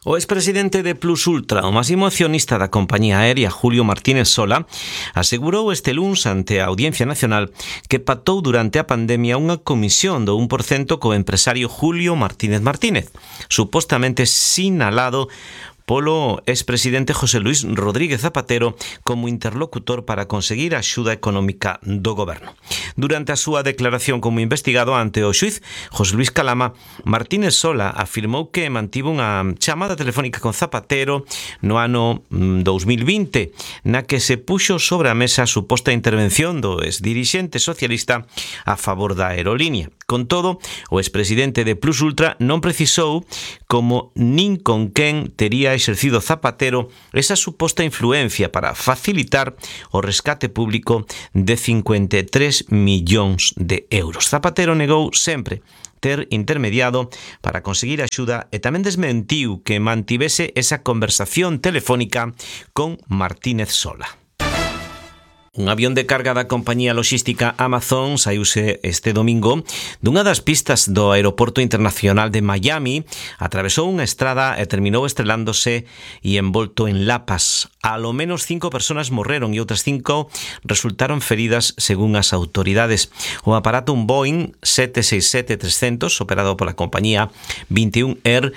O expresidente de Plus Ultra, o máximo accionista da compañía aérea Julio Martínez Sola, asegurou este luns ante a Audiencia Nacional que pactou durante a pandemia unha comisión do 1% co empresario Julio Martínez Martínez, supostamente sinalado polo expresidente José Luis Rodríguez Zapatero como interlocutor para conseguir a axuda económica do goberno. Durante a súa declaración como investigado ante o xuiz José Luis Calama, Martínez Sola afirmou que mantivo unha chamada telefónica con Zapatero no ano 2020, na que se puxo sobre a mesa a suposta intervención do exdirixente socialista a favor da aerolínea. Con todo, o expresidente de Plus Ultra non precisou como nin con quen tería exercido Zapatero esa suposta influencia para facilitar o rescate público de 53 millóns de euros. Zapatero negou sempre ter intermediado para conseguir axuda e tamén desmentiu que mantivese esa conversación telefónica con Martínez Sola. Un avión de carga da compañía logística Amazon saíuse este domingo dunha das pistas do aeroporto internacional de Miami, atravesou unha estrada e terminou estrelándose e envolto en lapas. Alo menos 5 personas morreron e outras 5 resultaron feridas según as autoridades. O aparato, un Boeing 767-300, operado pola compañía 21 Air,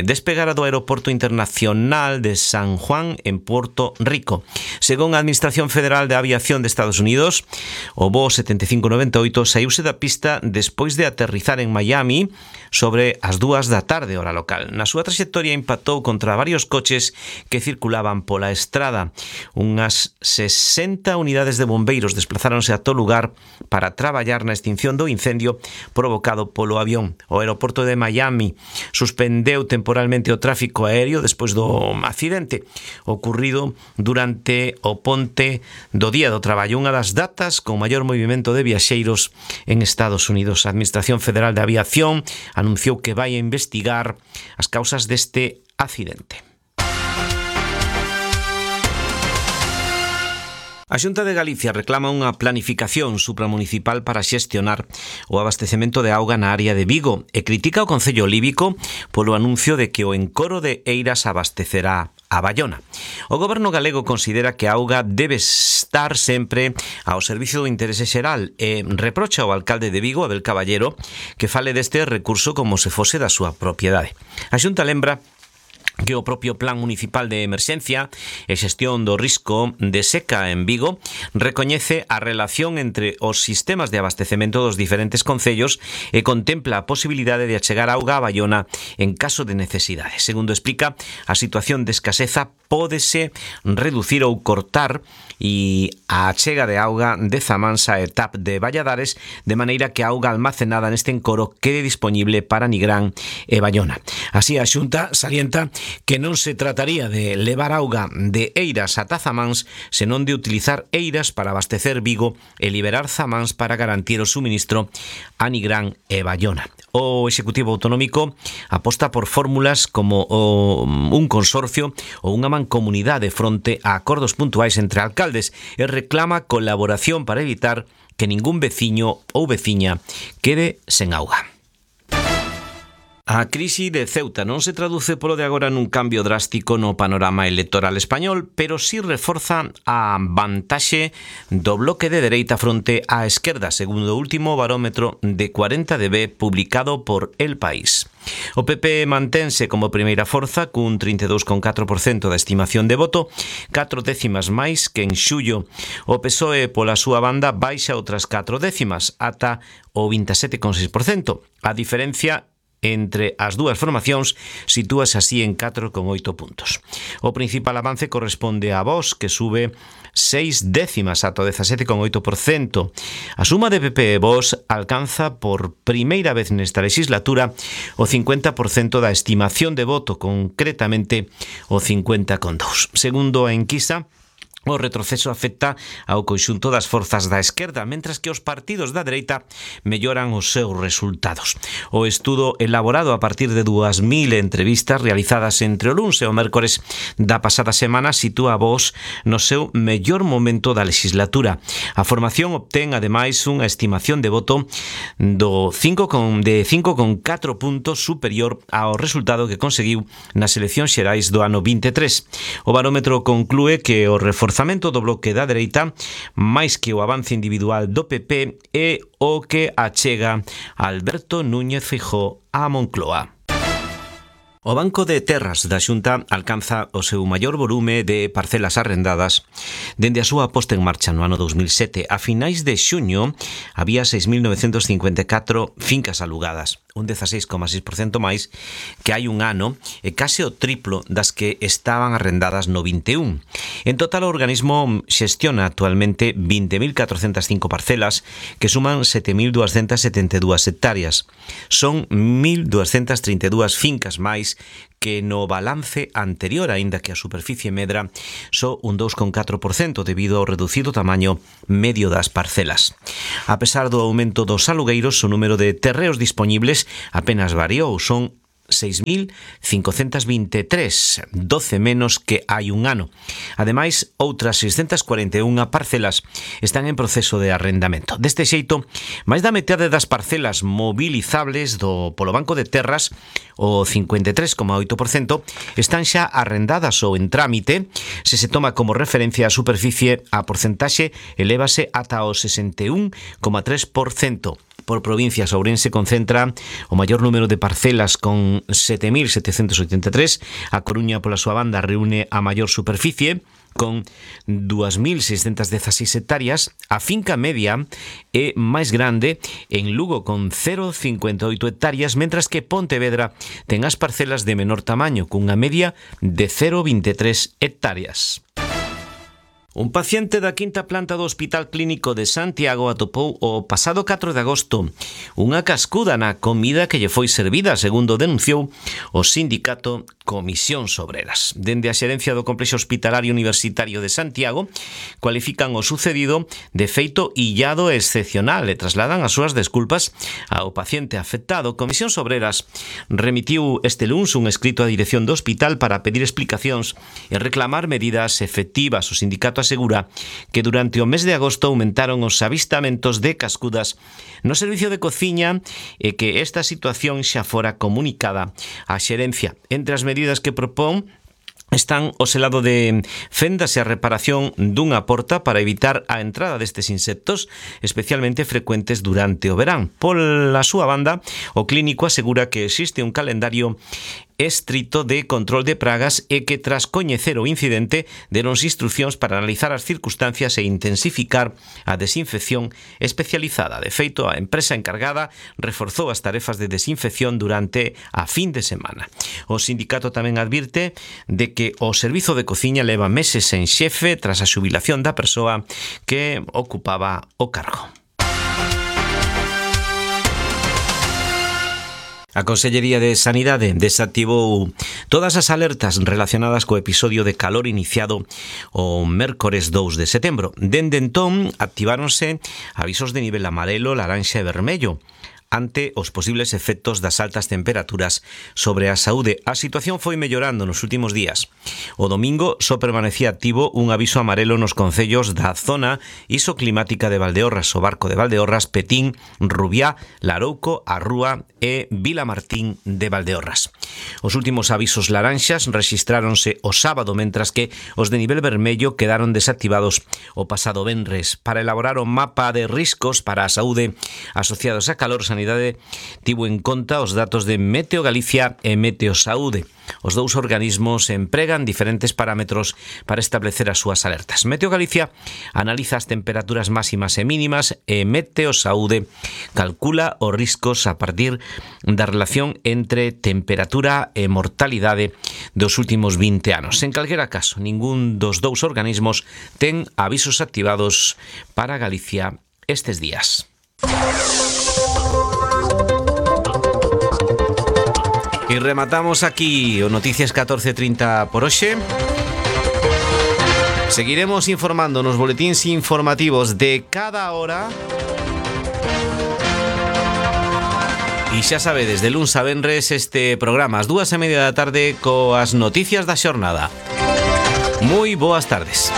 despegara do aeroporto internacional de San Juan en Puerto Rico. Según a Administración Federal de Aviación de Estados Unidos, o voo 7598 saíuse da pista despois de aterrizar en Miami sobre as 2 da tarde, hora local. Na súa traxectoria impactou contra varios coches que circulaban pola estrada. Unhas 60 unidades de bombeiros desplazáronse a todo lugar para traballar na extinción do incendio provocado polo avión. O aeroporto de Miami suspendeu temporalmente o tráfico aéreo despois do accidente ocurrido durante o ponte do Día do Traballo, unha das datas con maior movimento de viaxeiros en Estados Unidos. A Administración Federal de Aviación anunciou que vai a investigar as causas deste accidente. A Xunta de Galicia reclama unha planificación supramunicipal para xestionar o abastecemento de auga na área de Vigo e critica o Concello Líbico polo anuncio de que o encoro de Eiras abastecerá a Baiona. O goberno galego considera que a auga debe estar sempre ao servicio do interese xeral e reprocha ao alcalde de Vigo, Abel Caballero, que fale deste recurso como se fose da súa propiedade. A Xunta lembra que o propio Plan Municipal de Emerxencia e Xestión do Risco de Seca en Vigo recoñece a relación entre os sistemas de abastecemento dos diferentes concellos e contempla a posibilidade de achegar auga a Baiona en caso de necesidade. Segundo explica, a situación de escaseza pódese reducir ou cortar e a achega de auga de Zamansa e TAP de Valladares, de maneira que a auga almacenada neste encoro quede disponible para Nigrán e Baiona. Así, a Xunta salienta que non se trataría de levar auga de Eiras ata Zamáns, senón de utilizar Eiras para abastecer Vigo e liberar Zamáns para garantir o suministro a Nigrán e Baiona. O Executivo Autonómico aposta por fórmulas como un consorcio ou unha mancomunidade fronte a acordos puntuais entre alcaldes e reclama colaboración para evitar que ningún veciño ou veciña quede sen auga. A crise de Ceuta non se traduce polo de agora nun cambio drástico no panorama electoral español, pero sí reforza a vantaxe do bloque de dereita fronte á esquerda, segundo o último barómetro de 40DB publicado por El País. O PP mantense como primeira forza cun 32,4% da estimación de voto, 4 décimas máis que en xullo. O PSOE pola súa banda baixa outras 4 décimas ata o 27,6%. A diferencia entre as dúas formacións sitúase así en 4,8 puntos. O principal avance corresponde a Vox, que sube 6 décimas ata o 17,8%. A suma de PP e Vox alcanza por primeira vez nesta legislatura o 50% da estimación de voto, concretamente o 50,2%. Segundo a enquisa, O retroceso afecta ao conxunto das forzas da esquerda, mentras que os partidos da dereita melloran os seus resultados. O estudo elaborado a partir de 2.000 entrevistas realizadas entre o luns e o mércores da pasada semana sitúa a Vox no seu mellor momento da legislatura. A formación obtén, ademais, unha estimación de voto de 5,4 puntos superior ao resultado que conseguiu nas eleccións xerais do ano 23. O barómetro conclúe que o reforzamento do bloque da dereita, máis que o avance individual do PP, é o que achega Alberto Núñez Feijóo a Moncloa. O Banco de Terras da Xunta alcanza o seu maior volume de parcelas arrendadas dende a súa posta en marcha no ano 2007. A finais de xuño había 6.954 fincas alugadas, un 16,6% máis que hai un ano e case o triplo das que estaban arrendadas no 21. En total, o organismo xestiona actualmente 20.405 parcelas que suman 7.272 hectáreas. Son 1.232 fincas máis que no balance anterior, aínda que a superficie medra só un 2,4% debido ao reducido tamaño medio das parcelas. A pesar do aumento dos alugueiros, o número de terreos dispoñibles apenas variou, son 6.523, 12 menos que hai un ano. Ademais, outras 641 parcelas están en proceso de arrendamento. Deste xeito, máis da metade das parcelas movilizables polo Banco de Terras, o 53,8%, están xa arrendadas ou en trámite. Se se toma como referencia a superficie, a porcentaxe elévase ata o 61,3%. Por provincias, Ourense concentra o maior número de parcelas con 7.783, a Coruña pola súa banda reúne a maior superficie con 2.616 hectáreas. A finca media é máis grande en Lugo con 0,58 hectáreas, mentras que Pontevedra ten as parcelas de menor tamaño cunha media de 0,23 hectáreas. Un paciente da quinta planta do Hospital Clínico de Santiago atopou o pasado 4 de agosto unha cascuda na comida que lle foi servida, segundo denunciou o sindicato Comisións Obreras. Dende a xerencia do Complexo Hospitalario Universitario de Santiago cualifican o sucedido de feito illado e excepcional e trasladan as súas desculpas ao paciente afectado. Comisións Obreras remitiu este luns un escrito á dirección do hospital para pedir explicacións e reclamar medidas efectivas. O sindicato asegura que durante o mes de agosto aumentaron os avistamentos de cascudas no servicio de cociña e que esta situación xa fora comunicada á xerencia. Entre as medidas que propón están o selado de fendas e a reparación dunha porta para evitar a entrada destes insectos, especialmente frecuentes durante o verán. Pola súa banda, o clínico asegura que existe un calendario estrito de control de pragas e que tras coñecer o incidente deronse instruccións para analizar as circunstancias e intensificar a desinfección especializada. De feito, a empresa encargada reforzou as tarefas de desinfección durante a fin de semana. O sindicato tamén advirte de que o servizo de cociña leva meses en xefe tras a xubilación da persoa que ocupaba o cargo. A Consellería de Sanidade desactivou todas as alertas relacionadas co episodio de calor iniciado o mércores 2 de setembro. Dende entón, activáronse avisos de nivel amarelo, laranxa e vermello ante os posibles efectos das altas temperaturas sobre a saúde. A situación foi mellorando nos últimos días. O domingo só permanecía activo un aviso amarelo nos concellos da zona isoclimática de Valdeorras, o Barco de Valdeorras, Petín, Rubiá, Larouco, A Rúa e Vilamartín de Valdeorras. Os últimos avisos laranxas rexistráronse o sábado, mentras que os de nivel vermello quedaron desactivados o pasado venres. Para elaborar o mapa de riscos para a saúde asociados a calor, Sanidade tivo en conta os datos de Meteo Galicia e Meteo Saúde. Os dous organismos empregan diferentes parámetros para establecer as súas alertas. Meteo Galicia analiza as temperaturas máximas e mínimas e Meteo Saúde calcula os riscos a partir da relación entre temperatura e mortalidade dos últimos 20 anos. En calquera caso, ningún dos dous organismos ten avisos activados para Galicia estes días. E rematamos aquí o Noticias 14:30 por hoxe. Seguiremos informando nos boletíns informativos de cada hora. E xa sabedes, de luns a venres este programa ás 2:30 da tarde coas noticias da xornada. Moi boas tardes.